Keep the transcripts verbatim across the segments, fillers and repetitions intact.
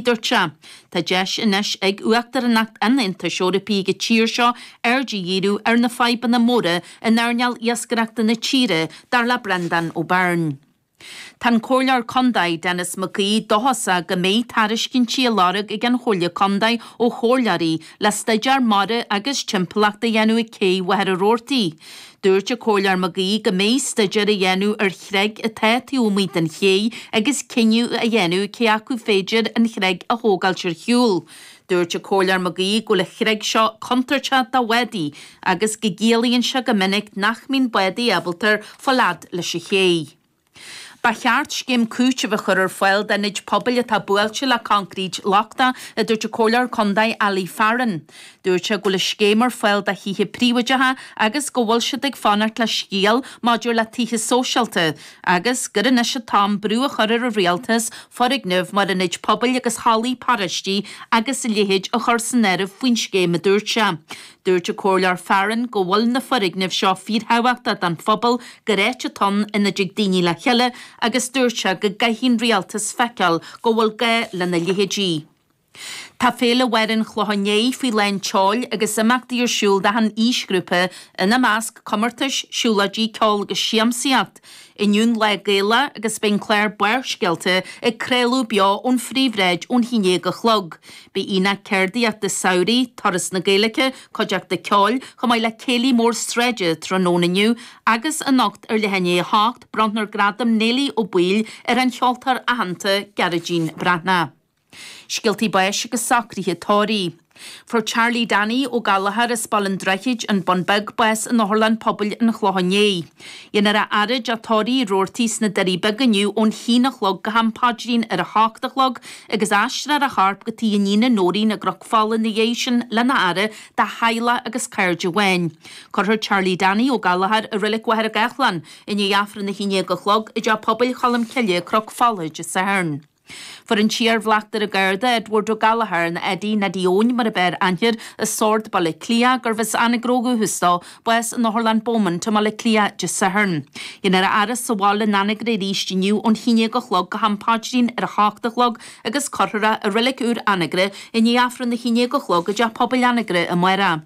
Dúirt sé, Tá deis anois ag Uachtaránacht an Aontais Eorpaigh ag an tír seo aird a dhíriú ar na fadhbanna móra in earnáil iascaireachta na tíre, dar le Breandán Ó Beirn. Tá an Comhairleoir Contae Denis McGee dóchasach go mbeidh tairiscintí á lorg ag an Chomhairle Contae ó chomhairleoirí le staidéar mara agus timpeallachta a dhéanamh ag cé Mhachaire Rabhartaigh. Dúirt an Comhairleoir McGee go mbeidh staidéar á dhéanamh ar chreig atá taobh amuigh den ché agus cinneadh a dhéanamh cé acu féidir an chreig a thógáilt ar shiúl. Dúirt an Comhairleoir McGee go bhfuil an chreig seo contúirteach do bhádaí agus go gciallaíonn sé go minic nach mbíonn bádaí ábalta fáil fhad leis an ché. Ba cheart scéim cúitimh a chur ar fáil d'ionaid pobail atá buailte le coincréit lochtach, a dúirt an Comhairleoir Contae Ali Farren. Dúirt sé go bhfuil an scéim ar fáil do thithe príobháideacha agus go bhfuil siad ag fanacht le scéal maidir le tithe sóisialta agus gur anois an t-am brú a chur ar an rialtas foirgnimh mar ionaid pobail agus hallaí paráistí agus a leithéid a chur san áireamh faoin scéim, a dúirt sé. Dúirt an Comhairleoir Farren go bhfuil na foirgnimh seo fíorthábhachtach don phobal, gur áit atá ann ina dtig daoine le chéile agus dúirt sé go gcaithfidh an rialtas feiceáil go bhfuil gá lena leithéidí. Tá Féile Bharr an Chlocháin Léith faoi lán tseoil agus imeachtaí ar siúl d'achan aoisghrúpa, ina measc, comórtais, siúlóidí, ceol agus siamsaíocht. Inniu an Lá Gaelach agus beidh an clár Barrscéalta ag craoladh beo ón phríomhshráid ón haon déag a chlog. Beidh aonach ceardaíochta samhraidh, Turas na Gaeilge, cuideachta ceoil, chomh maith le céilí mór sráide tráthnóna inniu agus anocht ar leath i ndiaidh a hocht, bronnfar Gradam Néilí Ó Baoill ar an cheoltóir aitheanta Gearóidín Breathnach. Scéaltaí báis agus socruithe tórraimh. Fuair Charlie Danny Ó Gallchóir as Baile an Droichid, An Bun Beag, bás in Otharlann Pobail an Chlocháin Léith. Dhéanfar a fhaire i dteach tórraimh Uí Rabhartaigh sna Doirí Beaga inniu ón haon a chlog go ham paidrín ar a hocht a chlog agus aistreofar a chorp go tigh a iníne Nóirín i gCnoc Fola ina dhiaidh sin lena fhaire dá theaghlach agus cairde amháin. Cuirfear Charlie Danny Ó Gallchóir i Reilig Mhachaire Gathlán i ndiaidh Aifreann a haon déag a chlog i dTeach Pobail Cholm Cille, Cnoc Fola, Dé Sathairn. Fuair an t-iar-bhleachtaire Garda Edward Ó Gallchóir, nó Eddie, Neidí Eoin mar a b'fhearr aithne air, as Sord, Baile Átha Cliath, gurbh as Anagaire ó dhúchas dó, bás in Otharlann Beaumont i mBaile Átha Cliath Dé Sathairn. Dhéanfar a fhaire sa bhaile in Anagaire arís inniu ón haon déag a chlog go ham paidrín ar a hocht a chlog agus cuirfear é i Reilig Úr Anagaire i ndiaidh Aifreann a haon déag a chlog i dTeach Pobail Anagaire amárach.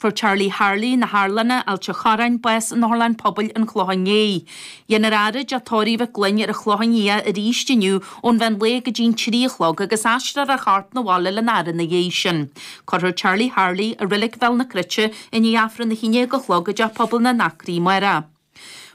Fuair Charlie Harley, na hArlanna, Ailt an Chorráin, bás in Otharlann Pobail an Chlocháin Léith. Dhéanfar a fhaire i dteach tórraimh Mhic Gloinn ar an Chlochán Liath arís inniu ón mheán lae go dtí an trí a chlog agus aistreofar a chorp 'na bhaile lena fhaire ina dhiaidh sin. Cuirfear Charlie Harley i Reilig Bhéal na Cruite i ndiaidh Aifreann a haon déag a chlog i dTeach Pobail na nAcraí amárach.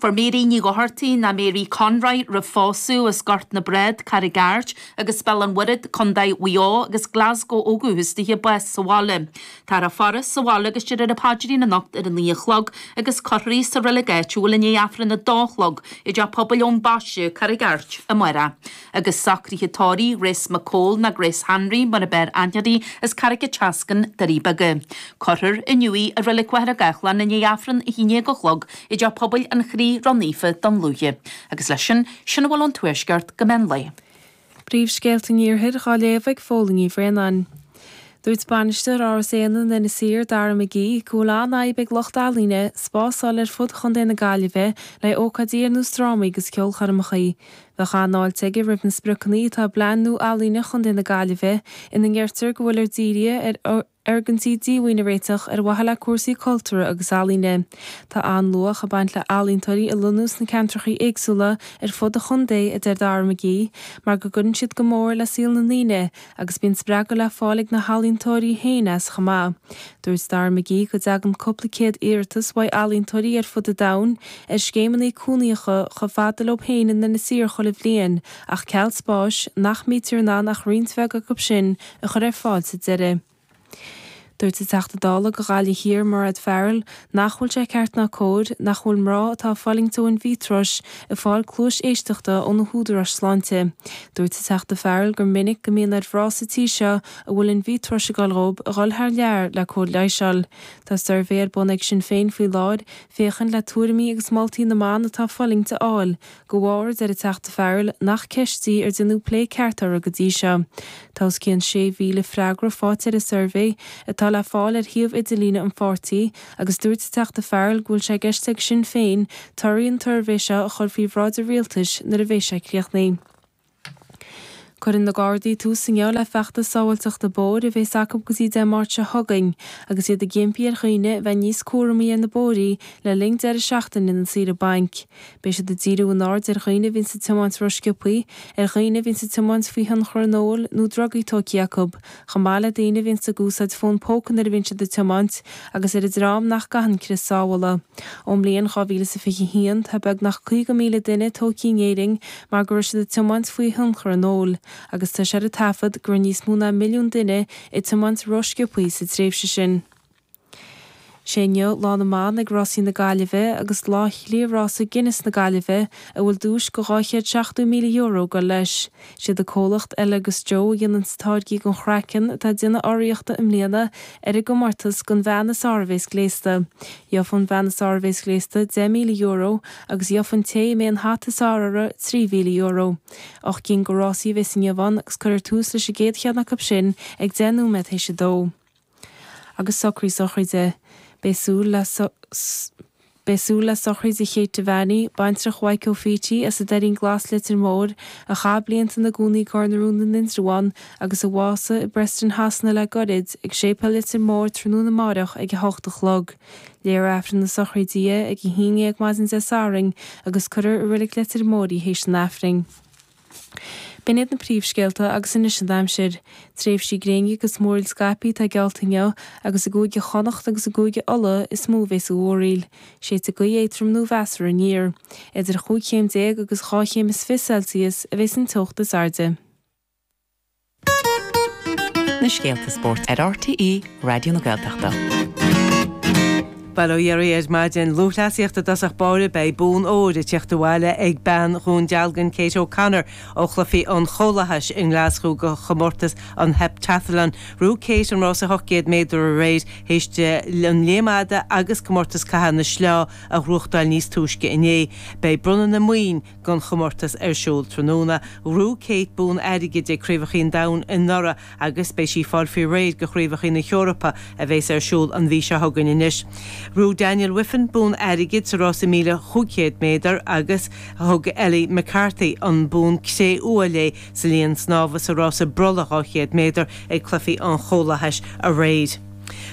Fuair Mary Ní Dhochartaigh, ná Mary Conroy roimh phósadh, as Gort na Brád, Carraig Airt, agus Béal an Mhuirthead, Contae Mhaigh Eo, agus Glasgow ó dhúchas dithe, bás sa bhaile. Táthar á faire sa bhaile agus déarfar an paidrín anocht ar a naoi a chlog agus cuirfear í sa reilig áitiúil i ndiaidh Aifreann a dó a chlog i dTeach Pobail Eoin Baiste, Carraig Airt, amárach. Agus socruithe tórraimh Grace McCole, ná Grace Hanry mar a b'fhearr aithne uirthi, as Carraig an tSeascainn, Doirí Beaga. Cuirfear inniu í i Reilig Mhachaire Gathlán i ndiaidh Aifreann a haon déag a chlog i dTeach Pobail an Chroí Ró-Naofa, Dún Lúiche. Agus leis sin, sin a bhfuil ón Tuaisceart go meán lae. Príomhscéalta an Iarthair dhá léamh ag Fódhla Ní Bhraonáin. Dúirt Bainisteoir Áras Éanna in Inis Oírr, Dara McGee, go bhfuil an-fhadhb ag lucht ealaíne spás a fháil ar fud Chontae na Gaillimhe le ócáidí ar nós drámaí agus ceolchoirmeacha. Bheadh an-fháilte aige roimh na spriocanna atá i bPlean nua Ealaíne Chontae na Gaillimhe ina ndeirtear go bhfuil dírithe ar fhoirgintí díomhaoin a réiteach ar mhaithe le cúrsaí cultúrtha agus ealaíne. Tá an-luach ag baint le healaíontóirí a lonnú sna ceantracha éagsúla ar fud an chontae, a deir Dara McGee, mar go gcuireann siad go mór le saol na ndaoine agus bíonn spreagadh le fáil ag na healaíontóirí féin as chomh maith. Dúirt Dara McGee go dtagann cúpla céad iarratas uaidh ealaíontóirí ar fud an domhain ar scéimeanna cónaíocha chomh fada leo féin in Inis Oírr chuile bhliain ach ceal spáis, nach mbítear in ann ach roinnt bheag acu sin a chur ar fáil sa deireadh. Dúirt an Teachta Dála do Ghaillimh Thiar, Mairéad Farrell, nach bhfuil sé ceart ná cóir nach bhfuil mná atá ag fulaingt ó in-vitro ag fáil cluais éisteachta ó na húdaráis sláinte. Dúirt an Teachta Farrell gur minic go mbíonn ar mhná sa tír seo a bhfuil in-vitro ag dul dhóibh a dhul thar lear le cóir leighis a fháil. Tá suirbhé ar bun ag Sinn Féin faoi láthair féachaint le tuairimí agus moltaí na mban atá ag fulaingt a fháil. De bharr, a deir an Teachta Farrell, nach ceist í ar déanadh plé ceart uirthi go dtí seo. Tá os cionn sé mhíle freagra faighte ar an suirbhé, atá le fáil ar shuíomh idirlíne an pháirtí, agus dúirt an Teachta Farrell go bhfuil sé i gceist ag Sinn Féin torthaí an tsuirbhé seo a chur faoi bhráid an Rialtais nuair a bheidh sé críochnaithe. Cuireann na Gardaí tús inniu le feachtas sábháilteachta bóthair a bheas acu go dtí Dé Máirt seo chugainn agus iad ag impí ar dhaoine bheith níos cúramaí ar na bóithrí le linn deireadh seachtaine na saoire bainc. Beidh siad ag díriú a n-aird ar dhaoine a bhíonn ag tiomáint rósciobtha, ar dhaoine a bhíonn ag tiomáint faoi thionchar an óil nó drugaí tógtha acu, chomh maith le daoine a bhíonn ag úsáid fón póca nuair a bhíonn siad ag tiomáint agus ar an dream nach gcaitheann crios sábhála. Ón mbliain dhá mhíle is a fiche haon tá beagnach caoga míle duine tógtha in Éirinn mar go raibh siad ag tiomáint faoi thionchar an óil, agus tá sé ar an taifead go raibh níos mó ná milliún duine ag tiomáint rósciobtha sa tréimhse sin. Sé inniu Lá na mBan ag Rásaí na Gaillimhe agus Lá Chliath-Rása Guinness na Gaillimhe a bhfuil duais de dhá chéad seachtó míle euro ag dul leis. Siad an comhlacht Elle agus Joe a dhéanann táirgí don chraiceann atá ag déanamh urraíochta i mbliana ar an gcomórtas don bhean is fearr a bhéas gléasta. Gheofa an bhean is fearr a bhéas gléasta deich míle euro agus gheofa an té a mbeidh an hata is fearr uirthi trí mhíle euro. Ocht gcinn de rásaí a bhéas inniu ann agus cuirfear tús leis an gcéad cheann acu sin ag deich nóiméad théis a dó. Agus socraí sochraide. Beidh súil le Beidh súil le sochraid Kate Devaney, baintreach Mhaidhc Ó Fíti as an Doirín Glas Leitir Móir, a chaith blianta ina gcónaí i gCorr na Rún in Indreabhán agus a bhásaigh i bPreston Shasana le gairid, ag Séipéal Leitir Móir tráthnóna amárach ag a hocht a chlog. Léifear Aifreann na sochraide di ag a haon déag maidin Dé Sathairn agus cuirfear i Reilig Leitir Móir í théis an Aifrinn. B'in iad na príomhscéalta agus anois an aimsir. Tréimhsí gréine agus múraíl scaipthe atá geallta inniu agus i gCúige Chonnacht agus i gCúige Uladh is mó a bheas an mhúraíl. Séidfidh gaoth éadrom nó mheasartha aniar. Idir chúig chéim déag agus dhá chéim is fiche Celsius a bheas an teocht is airde. Na scéalta spóirt ar RTÉ Raidió na Gaeltachta. Bail ó Dhia oraibh ar maidin lúthchleasaíocht i dtosach báire beidh bonn óir ag teacht abhaile ag bean Dhún Dealgan Kate O'Connor ó chluichí an Chomhlathais i nGlaschú do chomórtas an Heptathlon. Ghnóthaigh Kate an rás ocht gcéad méadar aréir théis di an léim fhada agus comórtas caitheamh na sleá a ghnóthachtáil níos túisce inné. Beidh bronnadh na maoin don chomórtas ar siúl tráthnóna. Ghnóthaigh Kate bonn airgid ag Craobhacha an Domhain anuraidh agus beidh sí ag fáil faoi réir do Chraobhacha na hEorpa a bheas ar siúl an mhí seo chugainn anois. Ghnóthaigh Daniel Wiffen bonn airgid sa rás míle chúig chéad méadar agus thug Ellie McCarthy an bonn cré-umha léi sa linn snámha sa rás brollaigh dhá chéad méadar ag Cluichí an Chomhlathais aréir.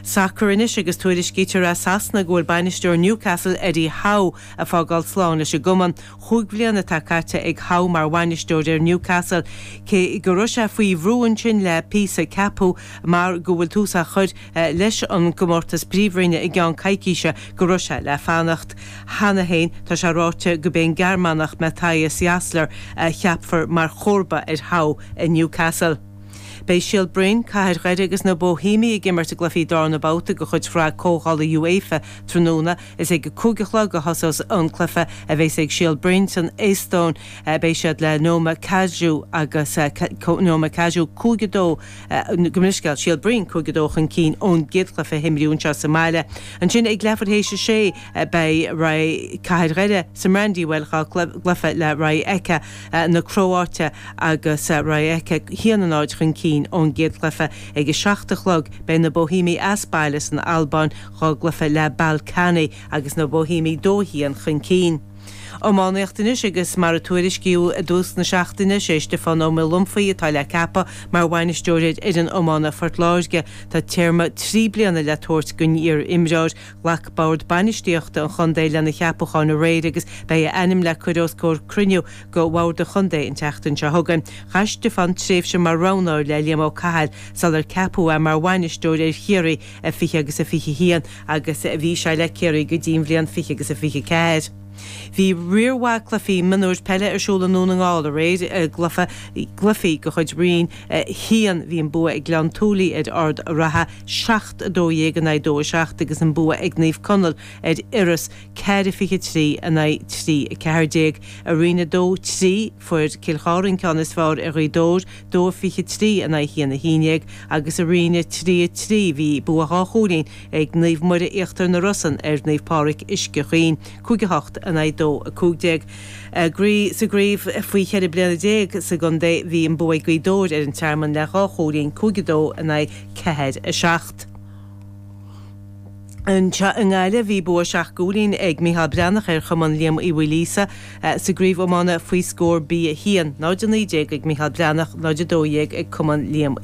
Sacar anois agus tuairiscítear as Sasana go bhfuil bainisteoir Newcastle Eddie Howe ag fágáil slán leis an gcumann. Chúig bliana atá caite ag Howe mar bhainisteoir ar Newcastle, cé go raibh sé faoi bhrú ansin le píosa ceapadh mar go bhfuil tús á chur leis an gcomórtas príomhroinne i gceann coicíse go raibh sé le fanacht. Cheana féin tá sé ráite gurb é an Gearmánach Matthias Jaissle a cheapfar mar chomharba ar Howe i Newcastle. Beidh Síol Broin, Cathair Dhoire agus na Boihéamaigh ag imirt i gcluichí darna babhta de chuid Shraith Comhdhála UEFA tráthnóna. Is ag a cúig a chlog a thosós an cluiche a bheas ag Síol Broin san Eastóin. Beidh siad le Nõmme Kalju agus Nõmme Kalju cúig a dó gabh mo leithscéal, Síol Broin cúig a dó chun cinn ón gcéad chluiche a himríodh anseo sa mbaile. Ansin ag leathuair théis a sé beidh Cathair Dhoire sa mBrandywell dhá gcluiche le Rijeka na Cróáite agus Rijeka haon a náid chun cinn ón gcéad chluiche. Ag a seacht a chlog beidh na Boihéamaigh as baile san Albáin dhá gcluiche le Ballkani agus na Boihéamaigh dó a haon chun cinn. Iománaíocht anois agus mar a tuairiscíodh i dtús na seachtaine, sé Stiofán Ó Maolumphaigh atá le ceapadh mar bhainisteoir ar fhoireann iomána Phort Láirge. Tá téarma trí bliana le tabhairt don iar-imreoir. Ghlac Bord Bainistíochta an chontae lena cheapachán aréir agus beidh a ainm le cur os comhair cruinniú de Bhord an Chontae an tseachtain seo chugainn. Chaith Stiofán tréimhse mar roghnóir le Liam Ó Cathail sular ceapadh é mar bhainisteoir ar Chiarraí i fiche agus a fiche haon agus bhí sé le Ciarraí go dtí an bhliain fiche agus a fiche ceathair. Bhí riar mhaith cluichí mionúir peile ar siúl i nDún na nGall aréir i gcluiche gcluichí de chuid Roinn a haon. Bhí an bua ag Gleann tSúilí ar Ard an Rátha seacht a dó dhéag in aghaidh dó a seacht agus an bua ag Naomh Conaill ar Iorras ceathair a fiche trí in aghaidh trí a ceathair déag. I Roinn a dó trí fuair Cill Chartha an ceann is fearr ar Ghaoth Dobhair dó a fiche trí in aghaidh haon a haon déag agus i Roinn a trí a trí bhí bua dhá chúilín ag Naomh Muire Íochtar na Rosann ar Naomh Pádraig Uisce Chaoin cúig a hocht in aghaidh dó a cúig déag. Sa gcraobh faoi cheithre bliana déag sa gcontae bhí an bua ag Gaoth Dobhair ar an Tearmann le dhá chúilín, cúig a dó in aghaidh ceathair a seacht. Anseo i nGaillimh bhí bua seacht gcúilín ag Micheál Breathnach ar Chumann Liam Uí Mhaoilíosa sa gcraobh iomána faoi scór B a haon, náid a naoi déag ag Micheál Breathnach, náid a dó dhéag ag Cumann Liam